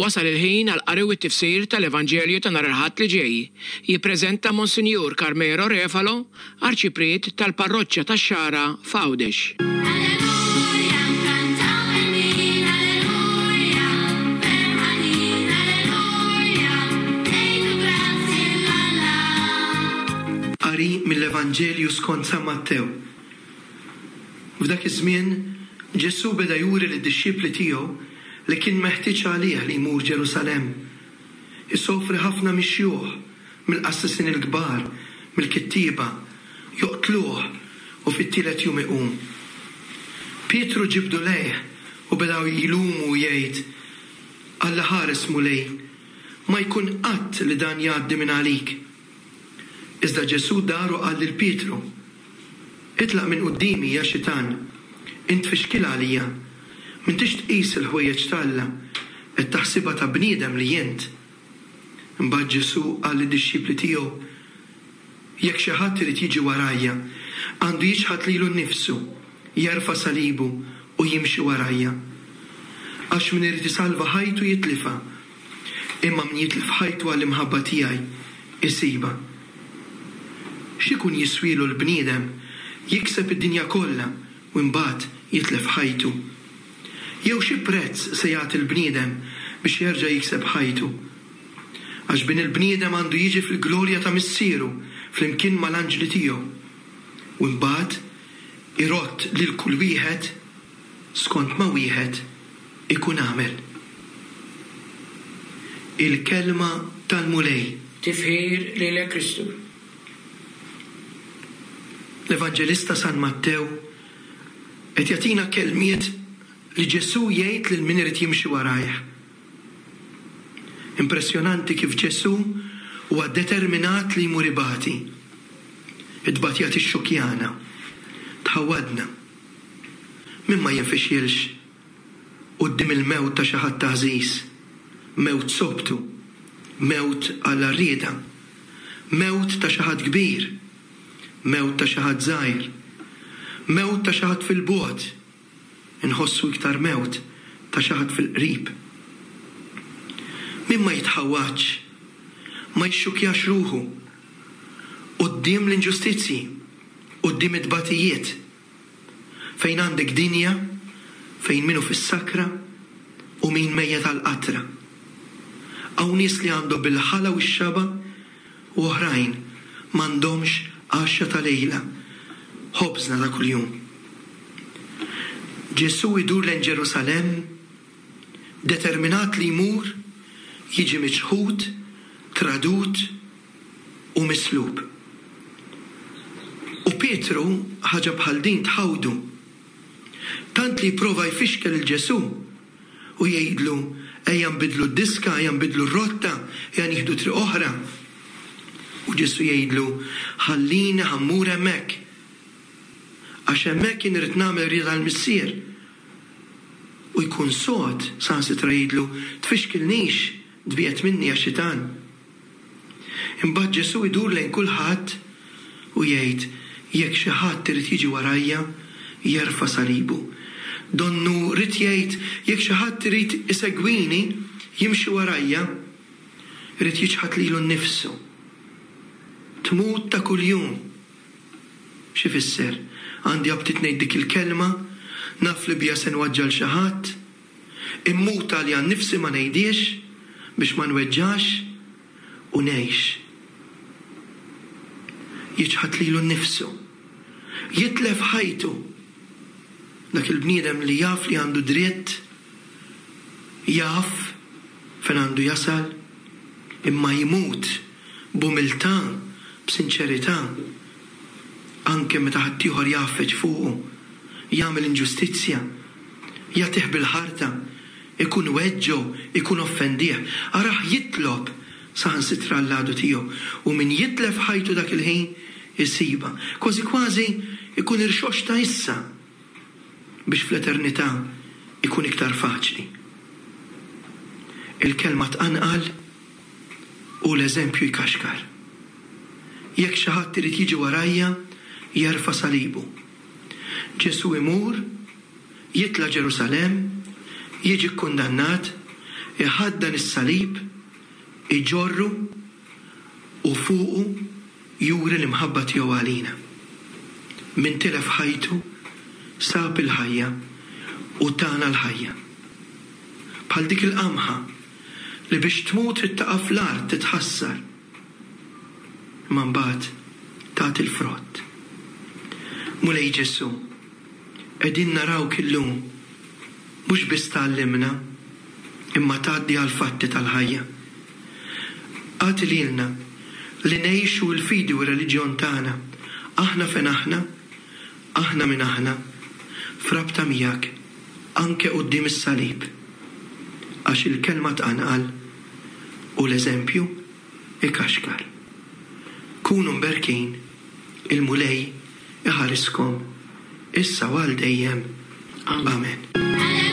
Wasal il-ħin għall-qari u t-tifsir tal-Evanġelju ta' nhar il-Ħadd li ġej. Jippreżenta Monsinjur Carmelo Refalo, Arċipriet tal-Parroċċa tax-Xagħra f'Għawdex. Alleluja, nkantaw il-min, alleluja, ferħanin, alleluja, ngħidu grazzi 'l Alla. Qari mill-Evanġelju skont San Mattew. F'dak iż-żmien, Ġesù beda juri lid-dixxipli tiegħu li kien meħtieġ għalih li jmur Ġerusalemm, isofri ħafna mix-xjuħ, mill-qassisin il-kbar, mill-kittieba, joqtluh u fit-tielet jum iqum. Pietru ġibdu lejh u beda jlumu u jgħid, Alla ħares, Mulej, ma jkun qatt li dan jgħaddi minn għalik. Iżda Ġesù dar u qal lil Pietru, Itlaq minn quddiemi, ja Xitan! Int tfixkilha għalija. M'intix tqis il-ħwejjeġ t'Alla, qed taħsibha ta' bniedem li int. Imbagħad Ġesù qal lid-dixxipli tiegħu, Jekk xi ħadd irid jiġi warajja, għandu jiċħad lilu nnifsu, jerfa' salibu u jimxi warajja. Għax min irid isalva ħajtu jitlifha, imma min jitlef ħajtu għall-imħabba tiegħi, isibha. X'ikun jiswielu l-bniedem jikseb id-dinja kollha u imbagħad jitlef ħajtu? Jew xi prezz se jagħti l-bniedem biex jerġa' jikseb ħajtu? Għax Bin il-bniedem għandu jiġi fil-glorja ta' Missieru flimkien mal-anġli tiegħu, u imbagħad irodd lil kull wieħed skont ma wieħed ikun għamel. Il-Kelma tal-Mulej. Tifħir lilek Kristu. L-Evanġelista San Mattew qed jagħtina kelmiet li Ġesù jgħid lil min irid jimxi warajh. Impressjonanti kif Ġesù huwa determinat li jmur ibati. It-tbatija tixxukkjana, tħawwadna. Min ma jinfixilx quddiem il-mewt ta' xi ħadd għażiż, mewt sobtu, mewt għall-għarrieda, mewt ta' xi ħadd kbir, mewt ta' xi ħadd żgħir, mewt ta' xi ħadd fil-bogħod, inħossu iktar mewt ta' xi ħadd fil-qrib. Min ma jitħawwadx, ma jixxukkjax ruħu quddiem l-inġustizzji, quddiem it-tbatijiet, Fejn għandek dinja fejn min hu fis-sakra u min mejjet għall-qatra. Hawn nies li għandhom bil-ħala u x-xaba' u oħrajn m'għandhomx għaxxa ta' lejla, ħobżna ta' kuljum. Ġesù jdur lejn Ġerusalemm determinat li jmur, jiġi miċħud, tradut, u mislub. U Pietru ħaġa bħal din tħawdu, tant li jipprova jfixkel 'il Ġesù u jgħidlu, Ejja nbiddlu d-diska, ejja nbiddlu r-rotta, ejja nieħdu triq oħra. U Ġesù jgħidlu, Ħallini ħa mmur hemmhekk, għax hemmhekk jien irrid nagħmel rieda l-Missier. U jkun sod, saħansitra jgħidlu, Tfixkilnix, tbiegħed minni ja xitan. Imbagħad Ġesù jdur lejn kulħadd u jgħid, Jekk xi ħadd irid jiġi warajja, jerfa' salibu. Donnu ried jgħid, jekk xi ħadd irid isegwini, jimxi warajja, irid jiċħad lilu nnifsu. Tmut ta' kuljum. X'ifisser? Għandi aptit ngħid dik il-kelma, naf li biha se nwaġġa' 'l xi ħadd, Immut għalija nnifsi ma ngħidhiex biex ma nweġġax u ngħix. Jiċħad lilu nnifsu. Jitlef ħajtu. Dak il-bniedem li jaf li għandu dritt, jaf fejn għandu jasal, imma jmut b'umiltà, b'sinċerità, anke meta ħaddieħor jgħaffeġ fuqu, jagħmel inġustizzja. Jagħtih bil-ħarta, ikun weġġgħu, ikun offendih. Arah jitlob saħansitra għall-għadu tiegħu, u min jitlef ħajtu dak il-ħin isibha. Kważi kważi ikun irxoxta issa biex fl-eternità ikun iktar faċli. Il-kelma tqanqal u l-eżempju jkaxkar. Jekk xi ħadd irid jiġi warajja, jerfa' salibu. Ġesù imur, jitla' Ġerusalemm, jiġi kkundannat, Iħaddan is-salib, iġorru u fuqu juri l-imħabba tiegħu għalina. Min tilef ħajtu, sab il-ħajja u tana l-ħajja. Bħal dik il-qamħa li biex tmut trid taqa' fl-art titħassar, imma mbagħad tagħti l-frott. Mulej Ġesù, qegħdin narawk illum mhux biss tgħallimna imma tgħaddi għall-fatti tal-ħajja. Agħti lilna li ngħixu l-fidi u r-reliġjon tagħna, aħna fejn aħna, aħna min aħna, f'rabta miegħek, anke quddiem is-salib. Għax il-kelma tqanqal u l-eżempju ikaxkar. Kunu mberkin, il-Mulej iħariskom issa u għal dejjem. Amen.